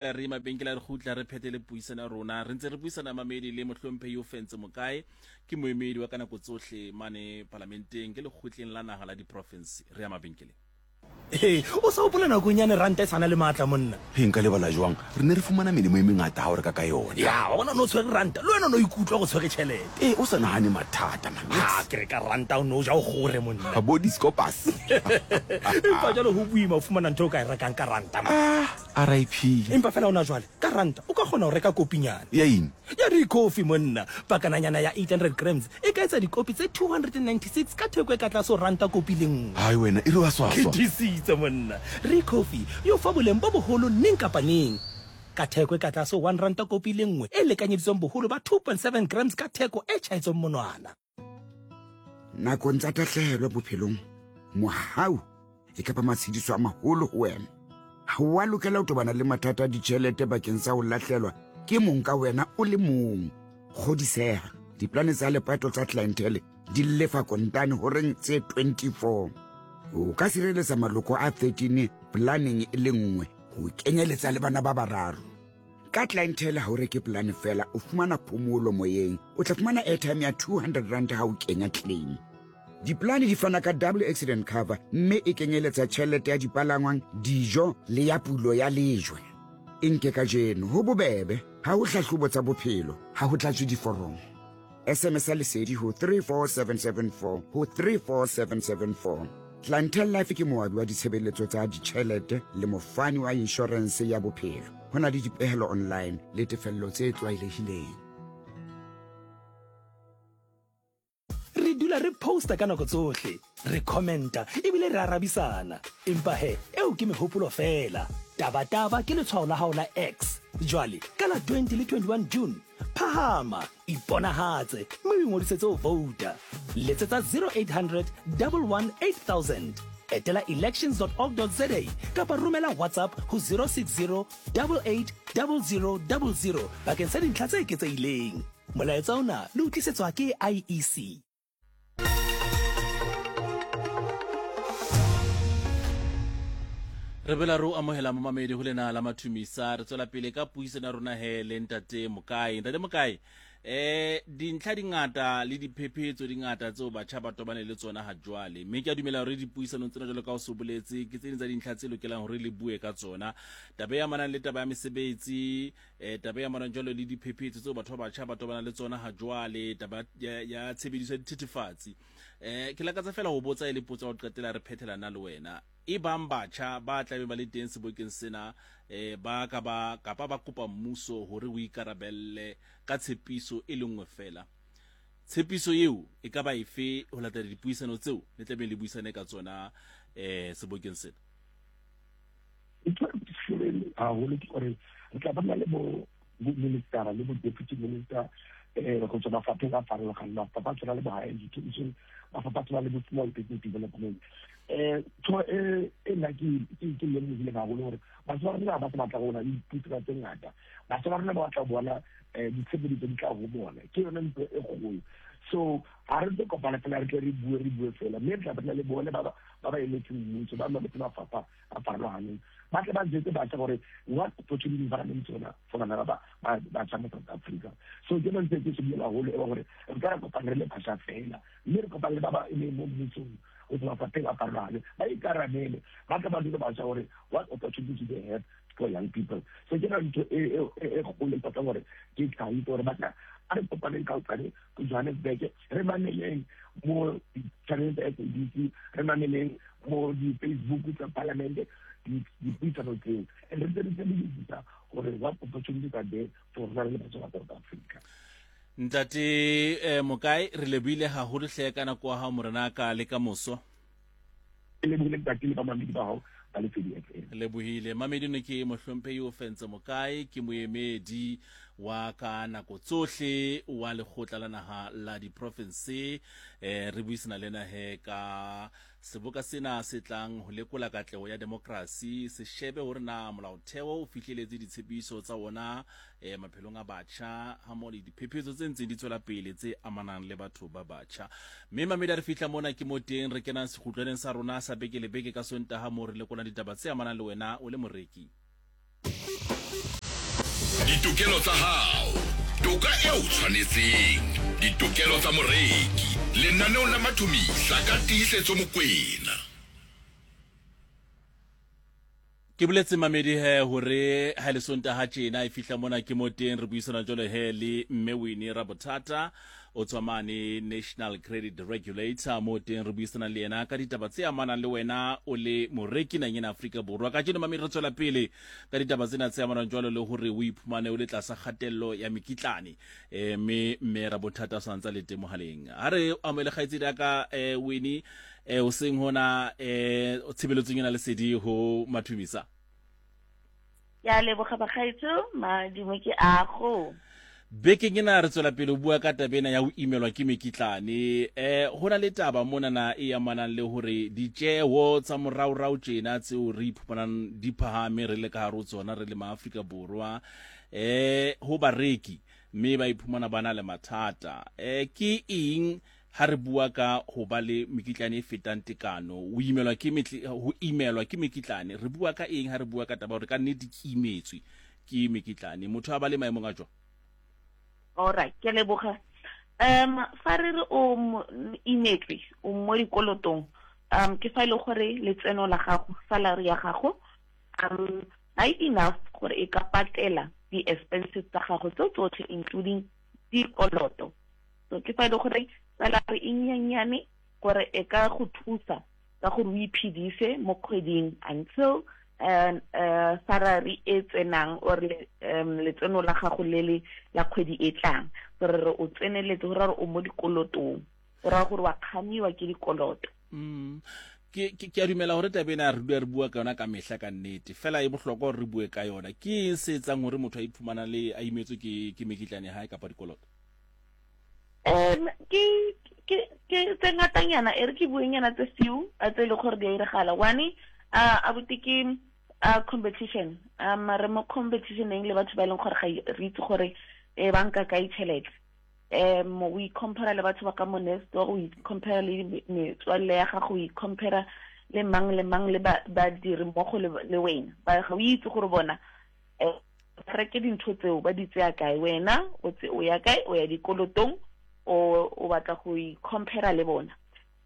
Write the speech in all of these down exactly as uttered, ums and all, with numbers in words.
Re mabenkele a re kgutla re phethele puisano ya rona. Re ntse re buisana mamedi le mohlomphehi Ofentse Mokae, ke moemedi wa ka nako tsohle mane palamenteng, ke lekgotleng la naha la diprofinse. Re ya mabenkeleng. Ee, o sa hopola nakong yane ranta e sa na le maatla, monna? He, nka lebala jwang? Re ne re fumana melemo e mengata ha o reka ka yona. Ya, wa bona, o ne o tshwere ranta, le wena o ne o ikutlwa go tshwere tjhelete. Ee, o sa nahane mathata, man. Ha, ke re ka ranta o ne o ja o kgore, monna. Bo di-scopas. Empa jwale ho boima ho fumana ntho o ka e rekang ka ranta, man. Ah, R I P. Empa fela hona jwale, ka ranta o ka kgona ho reka kopinyana. Ya eng? Ya Ricoffy, monna. Pakananyana ya eight hundred grams e ka etsa dikopi tse two hundred and ninety-six ka theko e ka tlase ho ranta kopi le nngwe. Hai wena, e re wa swaswa. Ke tiisitse, monna. Ricoffy e o fa boleng bo boholo neng kapa neng. Ka theko e ka tlase ho one ranta kopi le nngwe e lekanyeditsweng boholo ba two point seven grams ka theko e tjhaetsweng monwana. Nakong tsa tahlehelo bophelong, mohau e ka ba matshediso a maholo ho wena. Ha o a lokela ho tobana le mathata a ditjhelete bakeng sa ho lahlelwa ke mong ka wena o le mong. Kgodiseha, diplane tsa lepato tsa clientele di lefa kontane horeng tse twenty-four. O ka sireletsa maloko a thirteen planeng e le nngwe ho kenyeletsa le bana ba bararo. Ka clientele ha o reke plane fela, o fumana phomolo moyeng. O tla fumana airtime ya two hundred rand ha o kenya claim. Diplane di fana ka double accident cover mme e kenyeletsa tjhelete ya dipalangwang, dijo le ya pulo ya lejwe. E nke kajeno ho bobebe, ha ho hlahlobo tsa bophelo, ha ho tlatswe diforomo. S M S ya lesedi ho three four seven seven four ho three four seven seven four. Clientele Life ke moabi wa ditshebeletso tsa ditjhelete le mofani wa inshorense ya bophelo. Ho na le dipehelo online le tefello tse tlwaelehileng. Re dula re posta ka nako tsohle, re commenta ebile re arabisana. Empa he, eo ke mehopolo fela. Tabataba ke letshwao la hao la X. Jwale, ka la twenty le twenty-one June, phahama, iponahatse, mme o ingodisetse ho vouta. Letsetsa zero eight hundred, double one eight thousand. Etela elections dot org dot za kapa romela WhatsApp ho zero six zero, double eight, double zero, double zero bakeng sa dintlha tse eketsehileng. Molaetsa ona le o tlisetswa ke I E C. Re bela re o amohela momamedi ho lena la Mathumisa. Re tswela pele ka puisano ya rona he le ntate Mokae. Ntate Mokae, eh dintlha di ngata le diphephetso di ngata tseo batjha ba tobane le tsona ha jwale, mme ke a dumela hore dipuisanong tsena jwalo ka o so boletse ke tse ding tsa dintlha tse lokelang hore le bue ka tsona. Taba e amanang le taba ya mesebetsi, eh taba e amanang jwalo le diphephetso tseo batho ba batjha ba tobana le tsona ha jwale, taba ya, ya tshebediso ya dithethefatsi. Eh ke lakatsa fela ho botsa e le potso ya ho qetela re phethela na le wena. E bang batjha ba tlabe ba le teng sebokeng sena, eh ba ka ba kapa ba kopa mmuso hore o ikarabelle ka tshepiso e le nngwe fela. Tshepiso eo e ka ba efe ho latela dipuisano tseo le tlabe le buisane ka tsona eh sebokeng sena? Ntho e ke shebile haholo ke hore re tla ba le bo minister le bo deputy minister eh go tswa mafapheng a farologaneng, mafapha a tshwana le bo higher education, mafapha a tshwana le bo small business development. Eh ntho e e nna ke ke ke lemogile haholo hore batho ba rona ba sa batla go bona le dipuisano tse ngata, batho ba rona ba batla go bona eh ditshebeletso di tla ho bona, ke yone ntho e kgolo. So ha re tlo kopana fela re tle re bue re bue fela, mme re tla batla le bone ba ba ba ba emetseng mmuso, ba ba emetseng mafapha a farologaneng, ba tle ba jwetse batjha gore what opportunities ba nang le tsona for bana ba ba batjha mo South Africa. So ke yone ntho e ke shebile haholo e ba gore re ka ra kopana re le batjha fela, mme re kopane le ba ba emeng mo mmusong go tswa mafapheng a farologaneng, ba ikarabele, ba tle ba jwetse batjha gore what opportunities they have for young people. So ke yone ntho e e e kgolo e batlang gore ke tlhahise gore batjha a re kopaneng ka hosane ko Johannesburg, re mameleng mo di-channel tsa S A B C, re mameleng mo di-Facebook tsa parliament, dipuisano tseo, and re ntse re sebedisisa gore what opportunities are there for rona re le batjha ba South Africa. Ntate eh, Mokae, re lebohile haholo hle ka nako ya hao morenaka le ka moso. Ke lebohile ntate le bamamedi ba hao ba Lesedi F M. Lebohile. Mamedi ne ke mohlomphehi Ofentse Mokae, ke moemedi wa ka nako tsohle wa lekgotla la naha la diprofinse. Eh re buisana le ena he ka seboka sena se tlang ho lekola katleho ya demokrasi, se shebe hore na molaotheo o fihleletse ditshepiso tsa wona eh maphelong a batjha ha mo le diphephetso tse ntseng di tswela pele tse amanang le batho ba batjha. Mme mamedi re fihla mona ke mo teng re kenang sekgutlwaneng sa rona sa beke le beke ka Sontaha mo re lekolang ditaba tse amanang le wena o le moreki. Ditokelo tsa hao, toka eo tshwanetseng, ditokelo tsa moreki. Lenaneong la Mathomisa ka Tiisetso Mokwena. Ke boletse mamedi he hore ha le Sontaha tjena e fihla mona ke mo teng re buisana jwalo he le Mme Winnie Rabothata o tswa mane National Credit Regulator mo teng re buisana le yena ka ditaba tse amanang le wena o le moreki naheng ena Afrika Borwa. Kajeno mamedi re tswela pele ka ditaba tsena tse amanang jwalo le hore o iphumane o le tlasa kgatello ya mekitlane, eh mme mme Rabothata o santsa le teng mohaleng. Ha re amohele kgaitsedi ya ka eh Winnie, eh o seng hona eh tshebeletsong ena lesedi ho Mathomisa. Ya leboga bagaetsho, madimo ke ago. Bekeng ena re tswela pele ho bua ka taba ena ya ho imelwa ke mekitlane. Eh ho na le taba monana e amanang le hore ditjeho tsa moraorao tjena tseo re iphumanang di phahame re le ka hare ho tsona re le maAfrika Borwa, eh ho bareki mme ba iphumana ba na le mathata. Eh ke eng ha re bua ka ho ba le mekitlane e fetang tekano, o imelwa ke metli, ho imelwa ke mekitlane, re bua ka eng ha re bua ka taba hore ka nnete ke imetswe ke mekitlane, motho a ba le maemong a jwang? Alright, ke leboga. Um fa re re o imetswe o mo dikolotong, um ke fa ile gore letseno la gago, salary ya gago, um ha e enough gore e ka patela di-expenses tsa gago tse tsotlhe including dikoloto. So ke fa ile gore salary e nyenyane gore e ka go thusa ka gore o iphedise mo kgweding until um uh salary e tsenang or um letseno la gago le le la kgwedi e tlang, gore re o tseneletse gore re o mo dikolotong, o raya gore wa kgamiwa ke dikoloto. Mm. Ke ke a dumela hore taba ena re dula re bua ka yona ka mehla ka nnete, fela e bohlokwa hore re bue ka yona. Ke eng se etsang hore motho a iphumana le a imetswe ke ke mekitlane ya hae kapa dikoloto? Um ke ke ke tse ngatanyana, e re ke buenyana tse few tse e leng gore di a iragala. One, uh abuti ke uh competition. Um re mo competitioneng le batho ba e leng gore ga re itse gore e banka kae tšhelete. Um we compare le batho ba ka mo next door, we compare le metswalle ya gago, we compare le mang le mang le ba badiri mmogo le wena. Ba ga o itse gore bona eh reke dintho tseo ba di tseya kae, wena o tse o ya kae, o ya dikolotong, o o batla go i-compare le bona.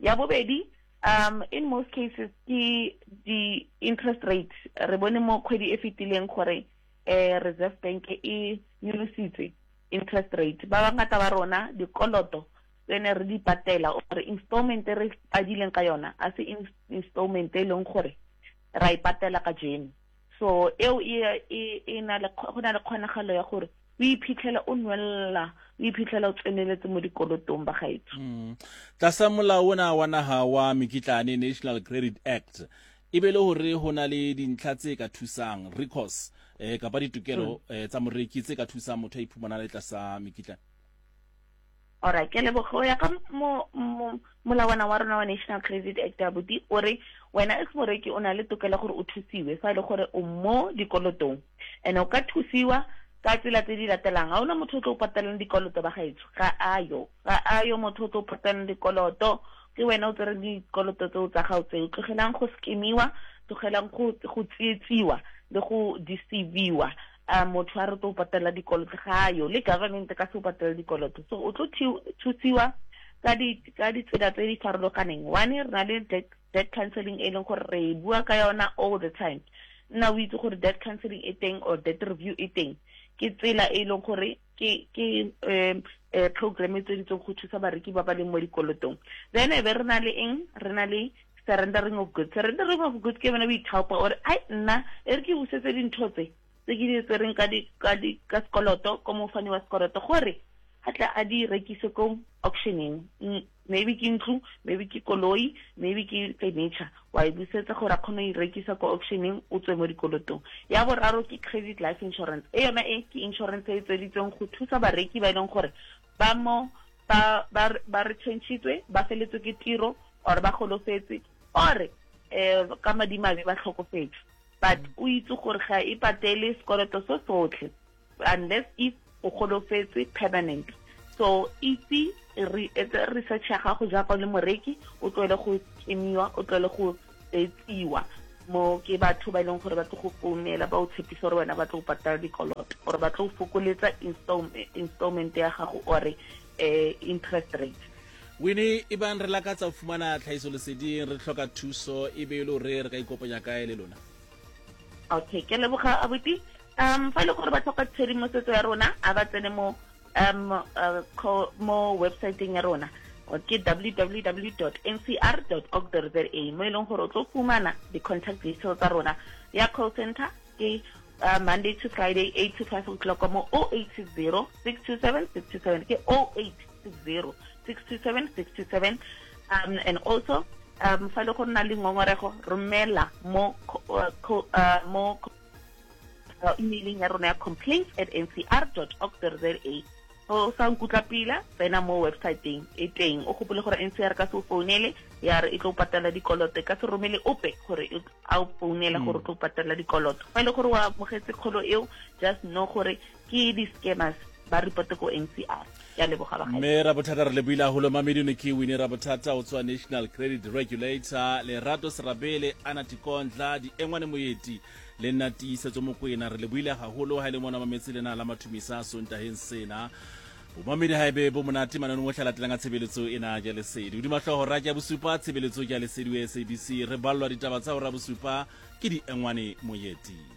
Ya bobedi, um in most cases ke di interest rate. Re bone mo kgwedi e fetileng gore eh Reserve Bank e nyolositse interest rate. Ba bangata ba rona dikoloto tse ne re di patela or installment e re padileng ka yona a se installment e leng gore ra e patela ka jeno. So eo e e na le go na le kgonagalo ya gore o iphitlhela o nwella, o iphitlhela o tseneletse mo dikolotong ba gaetsho. Mm. Tlasa molao ona wa naha wa mekitlane National Credit Act, e be le hore ho na le dintlha tse ka thusang recourse eh kapa ditokelo eh, tsa moreki tse ka thusang motho a iphumana le tlasa mekitlane. Alright, ke leboga. Ya ka mo molawana wa rona wa National Credit Act abuti o re wena as moreki o na le tokelo gore o thusiwe fa e le gore o mo dikolotong, and o ka thusiwa ka tsela tse di latelang. Ha ona motho o tlo patalang dikoloto ba gaetsho, ga ayo ga ayo motho o tlo patalang dikoloto, ke wena o tsere dikoloto tseo tsa gago tseo. Tlogelang go skemiwa, tlogelang go go tsitsiwa le go deceiviwa. A motho a re tlo patela dikoloto ga ayo, le government ka se o patela dikoloto. So o tlo thusiwa ka di ka ditsela tse di farologaneng. One, re na le debt, debt counseling e leng gore re bua ka yona all the time. Nna o itse gore debt counseling e teng or debt review e teng, ke tsela e leng gore ke ke um program e tsweditseng go thusa bareki ba ba leng mo dikolotong. Then e be re na le eng, re na le surrendering of goods. Surrendering of goods ke bana o ithaopa ore ai nna e re ke busetse dintho tse tse ke di tsereng ka di ka di ka sekoloto ko mofani wa sekoloto gore a tla a di rekise ko auctioning. Maybe ke ntlo, maybe ke koloi, maybe ke furniture, wa e busetsa gore a kgone go e rekisa ko auctioning, o tswe mo dikolotong. Ya boraro ke credit life insurance. E yona e ke insurance e tsweditsweng go thusa bareki ba e leng gore ba mo ba ba ba retrenchitswe, ba feletswe ke tiro or ba golofetse or eh ka madimabe ba tlhokofetse, but o itse gore ga e patele sekoloto se sotlhe unless if o golofetse permanent. So itse re research ya gago jaaka o le moreki, o tlogele go kemiwa, o tlogele go tsiwa. Mo ke batho ba e leng gore ba tlo go founela ba o tshepisa gore wena ba tlo go patala dikoloto or ba tlo go fokoletsa installment installment ya gago or eh interest rate. Winnie, e bang re lakatsa ho fumana tlhahisoleseding, re hloka thuso, e be e le hore re ka ikopanya kae le lona? Okay, ke leboga abuti. Um fa e le gore ba tlhoka tshedimosetso ya rona, a ba tsene mo um uh, mo websiteng ya rona ke w w w dot n c r dot org dot z a, mo e leng gore o tlo fumana di-contact details tsa rona. Ya call center ke uh, Monday to Friday eight to five o'clock mo oh eight six zero six two seven six two seven, ke oh eight six zero six two seven six two seven. Um and also um fa le go nna le ngongorego, romela mo uh, uh, mo uh, emailing ya rona ya complaints at n c r dot org dot z a. O sa nkutla pila, tsena mo websiteng e teng, o gopole gore N C R ka se o founele ya re e tlo patala dikoloto, ka se romele ope gore a o founele gore o tlo patala dikoloto. Fa e le gore o amogetse kgolo eo, just know gore ke di-scammers, ba reporte ko N C R. Ya leboga ba gae. Mme Rabothata, re lebohile haholo. Mamedi ne ke Winnie Rabothata o tswa National Credit Regulator, Lerato Serabele, Anna Tikondla, Diengwane Moeti le nna Tiisetso Mokwena. Re lebohile haholo ha e le mona mametse lena la Mathumisa Sontaheng sena. Bomamedi ha ebe bo monate mananeng ohle a latelang a tshebeletso ena ya Lesedi. Hodima hlooho hora ke ya bosupa, tshebeletso ke ya Lesedi wa S A B C. Re ballwa ditaba tsa hora bosupa ke Diengwane Moeti.